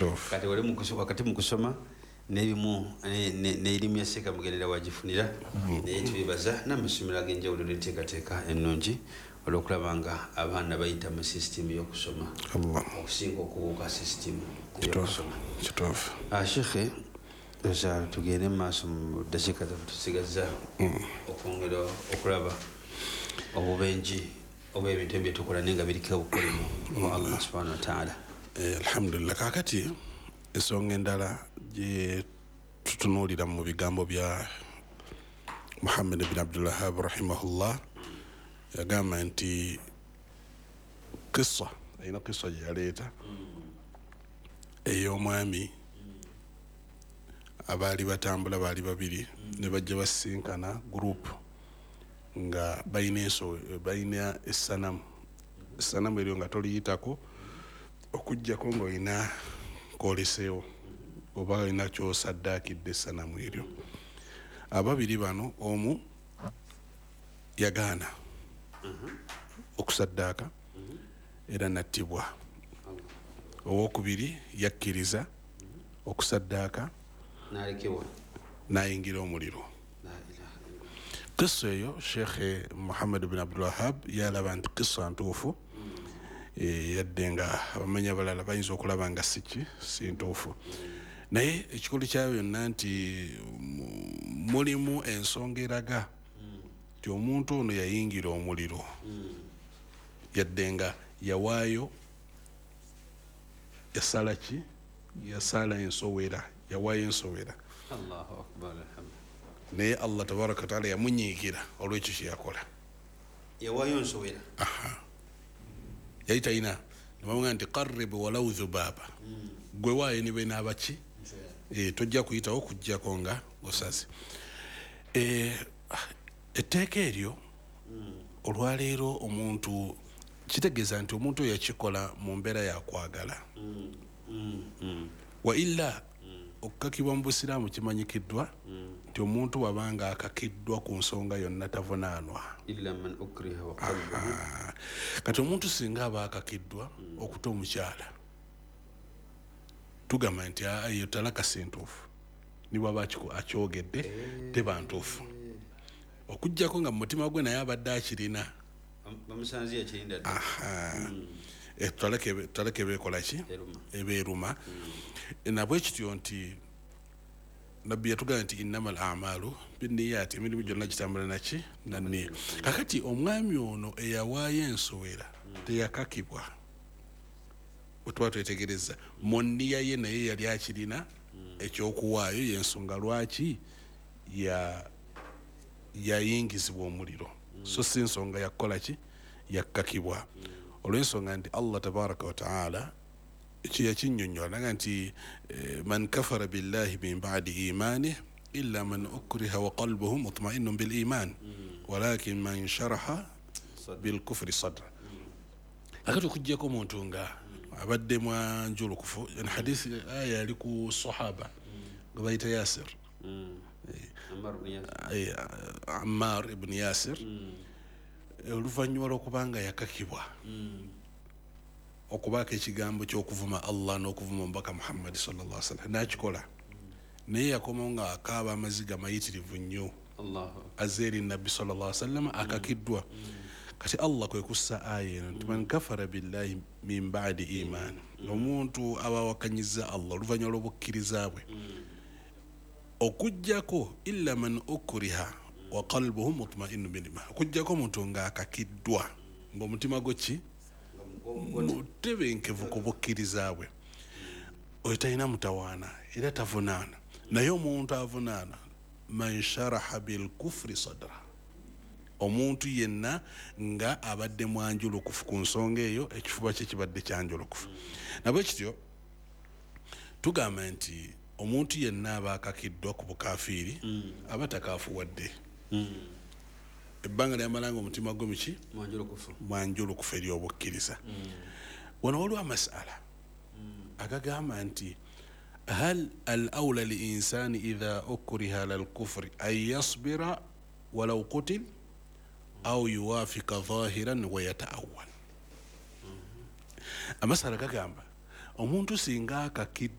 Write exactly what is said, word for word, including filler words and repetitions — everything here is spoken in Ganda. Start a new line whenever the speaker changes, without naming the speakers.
Kati wali wakati mu kusoma n'ebimu n'erimu ya Seeka Mugerera wagifunira, naye tubibaza n'amasomero ag'enjawulo n'enteekateeka ennungi olw'okulaba nga abaana bayita mu sisitimu y'okusoma okusinga okubuuka sisitimu y'okusoma. Sheikh, oza tugende mu maaso mu ddakiika zaffe tusigazza okwongera okulaba obubenji oba ebintu ebyo tukola naye nga biriko obukolimo wa Allah subhanahu wa ta'ala.
Alhamdulillah. Kaakati ensonga endala gye tutunuulira mu bigambo bya Muhammad bin Abdul Wahhab rahimahullah, yagamba nti kissa erina kissa gye yaleeta ey'omwami abaali batambula baali babiri ne bajja basinkana group nga balina enso balina essanamu essanamu eryo nga toliyitako okuggyako ng'olina kwoleseewo oba olina ky'osaddaakidde essanamu eryo. Ababiri bano omu yagaana okusaddaaka era nattibwa, owokubiri yakkiriza okusaddaaka n'ayingira omuliro. Kissa eyo Sheikh Muhammad bin Abdul Wahhab yalaba nti kissa ntuufu, yadde nga abamanyi abalala bayinza okulaba nga si ki si ntuufu, naye ekikulu kyayo byonna nti mulimu ensonga eraga nti omuntu ono yayingira omuliro yadde nga yawaayo yasala ki yasala ensowera yawaayo ensowera.
Allahu akbar, alhamdulillah.
Naye Allah tabaraka wataala yamunyiigira olw'ekyo kye yakola.
Yawaayo nsowera.
Yali talina nebamugamba nti qarrib walau dhubaaba, gwe waayo ne benaaba ki tojja kuyitawo okuggyako nga osaze. Etteeka eryo olwaleero omuntu kitegeeza nti omuntu oyo yakikola mu mbeera yakwagala, wa illa okukakibwa mu busiraamu kimanyikiddwa nti omuntu bw'abanga akakiddwa ku nsonga yonna tavunaanwa. Kati omuntu singa aba akakiddwa okuta omukyala, tugamba nti eyo talaka si ntuufu, ne bw'aba akyogedde teba ntuufu, okuggyako nga mu mutima gwe naye abadde akirina. Talaka ebeekola ki ebeeruma. Nabwe kityo nti Nabbi yatugamba nti innamal a'malu binniyaati, emirimu gyonna gitambula naki nanniya. Kakati omwami ono eyawaayo ensowera teyakakibwa, bwe tuba twetegereza mu nniya ye naye yali akirina ekyokuwaayo, y'ensonga lwaki yayingizibwa omuliro, so si nsonga yakukola ki yakkakibwa, olw'ensonga nti Allah tabaraka wa taala yakinnyonnyola naga nti man kafara billahi min ba'di imanih illa man ukriha wa qalbuhu mutma'innun bil iman walakin man sharaha bil kufri sadra. Akati okuggyako omuntu nga abadde mwanjulukufu, hadisi aya yali ku sahaba nga bayita Yasir, Ammar ibn Yasir, oluvannyuma lw'okubanga yakakibwa okubaako ekigambo ky'okuvuma Allah n'okuvuma omubaka Muhammad sallallahu alaihi wasallam n'akikola, naye yakomawo nga akaaba amaziga mayitirivu nnyo azze eri Nabbi sallallahu alaihi wasallam akakiddwa. Kati Allah kwe kussa aya eno nti man kafara billahi min ba'di iman, omuntu aba awakanyiza Allah oluvannyuma lw'obukkiriza bwe, okuggyako illa man ukriha wa qalbuhu mutma'innun bil iman, okuggyako omuntu ng'akakiddwa ng'omutima gwe ki mutebenkevu ku bukkiriza bwe, oyo talina mutawaana era tavunaana. Naye omuntu avunaana man sharaha bil kufri sadra, omuntu yenna nga abadde mwanjulukufu ku nsonga eyo, ekifuba kye kibadde kyanjulukufu. Nabwe kityo tugamba nti omuntu yenna aba akakiddwa ku bukafiiri aba takaafuwadde, ebbanga lyamala nga omutima gwe muki mwanjulukufu eri obukkiriza. Wano waliwo amasala agagamba nti hal al awla li insani idha ukriha ala al-kufri an yasbira walau qutil aw yuwafika zahiran wa yataawwal. Amasala gagamba Omuntu singa akakiddwa.